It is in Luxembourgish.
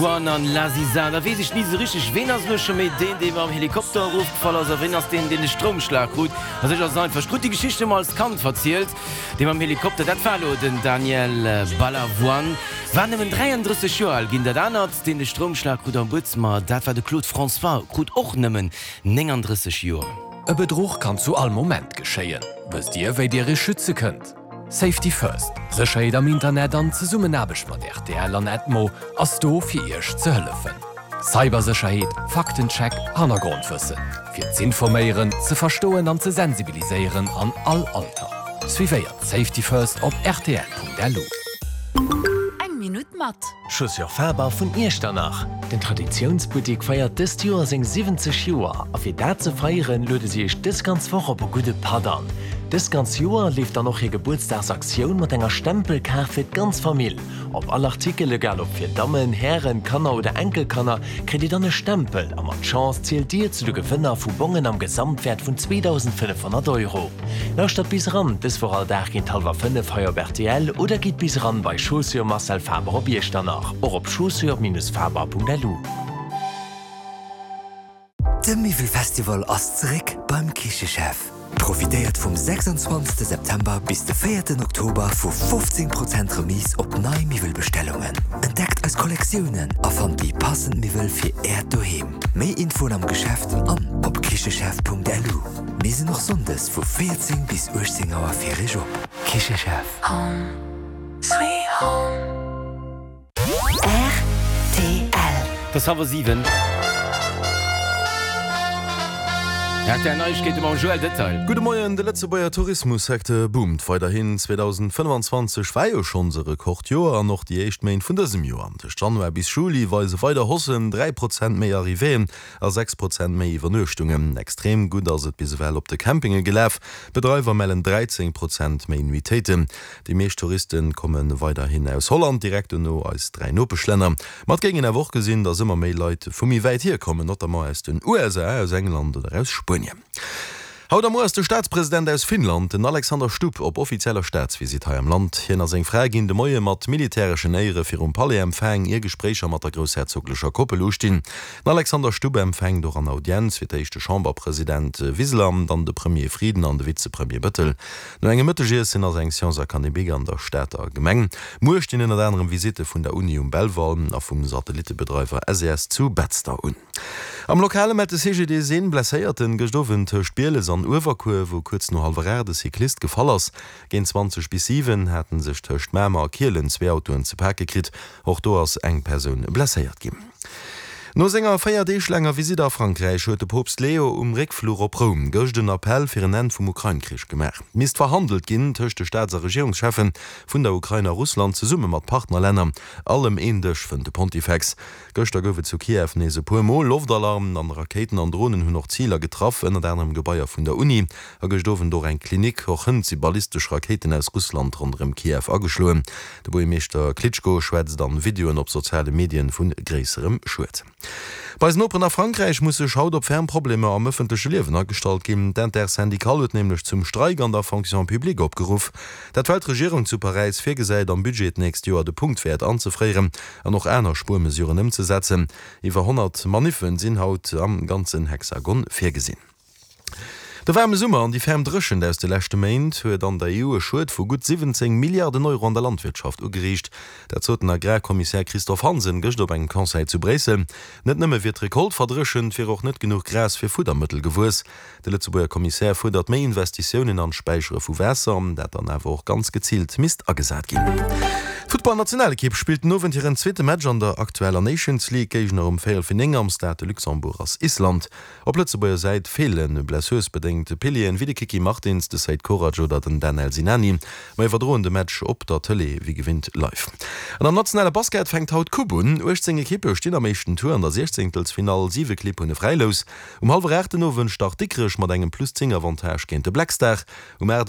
Juan an Laziza, da weess ech ni sou richteg, ween ass elo scho méi deen, dee mam Helikopter erofgefall ass a ween ass deen, deen de Stroumschlag krut. A sech ass et einfach, ech krut déi Geschicht ëmmer als Kand verzielt, dee mam Helikopter, dat war elo den Daniel Balavoine, war nëmmen 33 Joer al ginn. Dat anert, deen de Stroumschlag krut am Buedzëmmer, dat war de Claude François, krut och nëmmen 39 Joer. E Bedruch kann zu all Moment geschéien. Wësst Dir, wéi Dir Iech schütze kënnt? Safety First, Sécherheet am Internet an Zesummenaarbecht mat rtl an Edmo ass do fir Iech ze hëllefen. Cybersécherheet, Faktencheck, Hannergrondwëssen. Fir z'informéieren, ze verstoen an ze sensibiliséieren an all Alter. Suivéiert Safety First op rtl.lu. Eng Minutt mat. Chaussures Faber vun Iechternach. Den Traditiounsbuttik feiert dëst Joer seng 70 Joer a fir dat ze feieren, luede si iech dës ganz Woch op e gudde Patt an. Dëst ganz Joer leeft dann och hir Gebuertsdagsaktioun mat enger Stempelkaart fir d'ganz Famill. Op all Artikel, egal ob fir Dammen, Hären, Kanner oder Enkelkanner, kritt dir dann e Stempel a mat Chance zielt dir zu de Gewënner vu Bongen am Gesamtwäert vun 2.500 Euro. Lauschtert bis eran, dës Woch all Dag géint hallwer 5 hei op rtl oder gitt bis eran bei Chaussures Marcel Faber op Iechternach, och op chaussures-faber.lu. De Miwwelfestival ass zeréck beim Kichechef! Profitéiert vum 26 September bis de 4 Oktober vu 15 Prozent Remise op nei Miwwelbestellungen. Entdeckt eis Kollektiounen a fannt déi passend Miwwel fir Äert Doheem. Méi Infoen am Geschäft an op kichechef.lu. Mir sinn och Sonndes vu 14 bis 18 Auer fir Iech op. Kichechef. Home sweet home. Rtl. Et ass hallwer 7. Rtl Neiegkeete mam Joël Detail. Gudde Moien, De Lëtzebuerger Tourismussecteur boomt weiderhin. 2025 war jo schonns e Rekordjoer an och déi éischt Méint vun dësem Joer, tëscht Januar bis Juli, weise weider Haussen, 3 Prozent méi Arrivéeën a 6 Prozent méi Iwwernuechtungen. Extrem gutt ass et bis ewell op de Campinge gelaf, d'Bedreiwer mellen 13 Prozent méi Nuitéiten. Déi meescht Touriste komme weiderhin aus Holland, direkt dono eis 3 Nopeschlänner. Ma et géing een awer och gesinn, datt ëmmer méi Leit vu méi wäit hier kommen, notamment aus den USA, aus England oder aus Spuenien. Haut a muer ass de Staatspresident aus Finnland, den Alexander Stubb, op offizieller Staatsvisitt hei am Land. Hien a seng Fra ginn de Moie mat militäreschen Éiere virum Palais empfaang, ier Gespréicher mat der groussherzoglecher Koppel ustinn. Den Alexander Stubb empfänkt och an Audienz fir d'éischt de Chamberpresident Wiseler, dann de Premier Frieden an de Vizepremier Bëttel. No engem Mëttegiessen ass eng Science académique an der Stater Gemeng. Muer stinn ënnert anerem Visitte vun der Uni um Belval a vum Satellittebedreiwer SES zu Betzder un. Am Lokale mellt de CGDIS een Blesséierten gëscht Owend tëscht Bieles an Uewerkuer, wou kuerz no hallwer 8 e Cyclist gefall ass. Géint 20 bis 7 haten sech tëscht Mamer a Kielen zwee Autoen ze pake kritt. Och do ass eng Persoun blesséiert ginn. No senger 4 Deeg laanger Visitt a Frankräich huet de Poopst Leo um Réckfluch op Roum gëscht en Appell fir en Enn vum Ukrain-Krich gemaach. Misst verhandelt ginn tëscht de Staats a Regierungscheffen vun der Ukrain a Russland zesumme mat Partnerlänner. All ëm een Dësch, fënnt de Pontifex. Gëschter gouf et zu Kiew nees e puer Mol Loftalarm an Rakéiten an Dronen hunn och Ziler getraff, ënnert anerem Gebaier vun der Uni a gëscht Owend och eng Klinik. Och hënt si ballistesch Rakéiten aus Russland ronderëm Kiew ageschloen. De Buergermeeschter Klitschko schwätzt an Videoen op soziale Medien vu gréisserem Schued. Bei eisen Noperen a Frankräich muss sech haut op ferm Problemer am ëffentleche Liewen agestallt ginn. D'Intersyndicale huet nämlech zum Streik an der Fonction publique opgeruff. Dat well d'Regierung zu Paräis virgesäit, am Budget d'nächst Joer de Punktwäert anzefréieren an och aner Spuermesuren ëmzesetzen. Iwwer 100 Maniffen sinn haut am ganzen Hexagon virgesinn. De waarme Summer an déi ferm Dréchent aus de leschte Méint huet an der EU e Schued vu gutt 17 Milliarden Euro an der Landwirtschaft ugeriicht. Dat sot den Agrarkommissär Christophe Hansen gëscht op engem Conseil zu Bréissel. Net nëmme wier d'Recolte verdréchent, wier och net genuch Gras fir Fuddermëttel gewuess. De Lëtzebuerger Kommissär fuerdert méi Investitiounen an d'Späichere vu Waasser, dat dann awer och ganz geziilt misst agesat ginn. D'Futtballnationalekipp spillt den Owend hiren zweete Match an der aktueller Nations League. Géigner um véierel fir 9 am Stade de Luxembourg ass Island. Op Lëtzebuerger Säit feele blessursbedéngt Pilieren wéi de Kiki Martins, de Seid Korac oder den Danel Sinani. Mer iwwerdroen de Match op der Tëlee wéi gewinnt live. An am nationale Basket fänkt haut d'Coupe un. 18 Ekippe stinn am éischten Tour an der Siechzéngtelsfinall, 7 Clibb hunn e Fräilous. Um hallwer 8 den Owend start Dikrech mat engem plus 10 Avantage géint de Black Star. Um 8 Auer.